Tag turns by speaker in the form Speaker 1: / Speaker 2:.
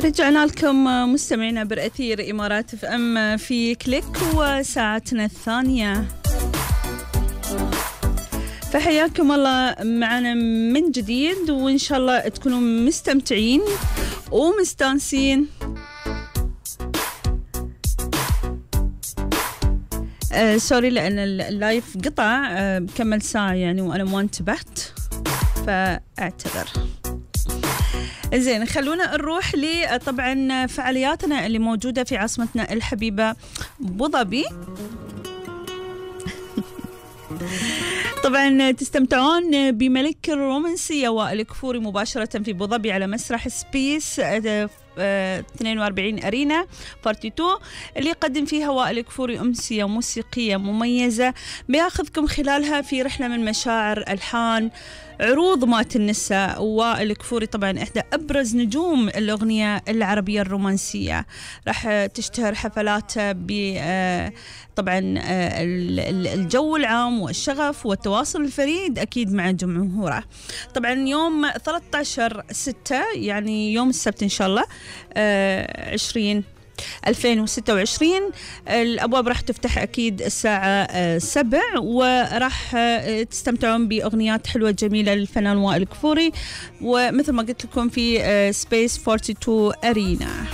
Speaker 1: رجعنا لكم مستمعينا بالأثير إمارات اف ام في كليك وساعتنا الثانية. فحياكم الله معنا من جديد، وإن شاء الله تكونوا مستمتعين ومستانسين. سوري لأن اللايف قطع كمل ساعة يعني وأنا ما انتبهت، فأعتذر. زين، خلونا نروح طبعا فعالياتنا اللي موجودة في عاصمتنا الحبيبة أبو ظبي. طبعا تستمتعون بملك الرومانسية وائل كفوري مباشرة في أبو ظبي على مسرح سبيس 42 أرينا بارتي 2 اللي يقدم فيها وائل كفوري أمسية موسيقية مميزة بياخذكم خلالها في رحلة من مشاعر، ألحان، عروض مات النساء. وائل كفوري طبعا إحدى أبرز نجوم الأغنية العربية الرومانسية، راح تشتهر حفلاته طبعا الجو العام والشغف والتواصل الفريد أكيد مع جمهوره. طبعا يوم 13/6 يعني يوم السبت إن شاء الله 2026 الأبواب راح تفتح أكيد الساعة 7، وراح تستمتعون بأغنيات حلوة جميلة للفنان وائل كفوري، ومثل ما قلت لكم في سبيس 42 أرينا.